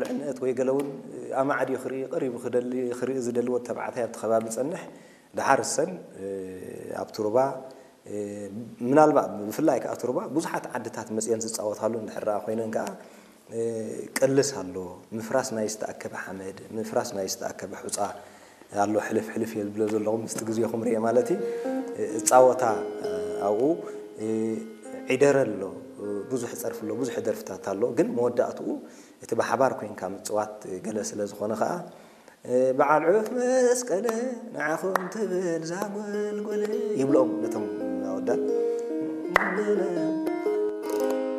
ልዕነት ወይ ገለ እውን ኣማዕድዩ ክርኢ ቀሪቡ ክደሊ ክርኢ ዝደሊ ወዲ ተባዕታይ ኣብቲ ከባቢ ዝጸንሕ፣ ድሓር እሰን ኣብቲ ሩባ ምናልባት ብፍላይ ከኣ እቲ ሩባ ብዙሓት ዓድታት መጽየን ዝጻወታሉ እንድሕር ኮይነን ከኣ ቅልስ ኣሎ፣ ምፍራስ ናይ ዝተኣከበ ሓመድ፣ ምፍራስ ናይ ዝተኣከበ ሑጻ ኣሎ። ሕልፍ ሕልፍ እየ ዝብሎ ዘለኹ ምስቲ ግዜኹም ርየ ማለት እዩ። እጻወታ ኣብኡ ዒደረ ኣሎ፣ ብዙሕ ጸርፊ ኣሎ፣ ብዙሕ ደርፍታት ኣሎ። ግን መወዳእትኡ እቲ ብሓባር ኮይንካ ምጽዋት ገለ ስለ ዝኾነ ከኣ በዓል ዑፍ መስቀለ ንዓኹም ትብል ዛጎልጎለ ይብሎም ነቶም ኣወዳት።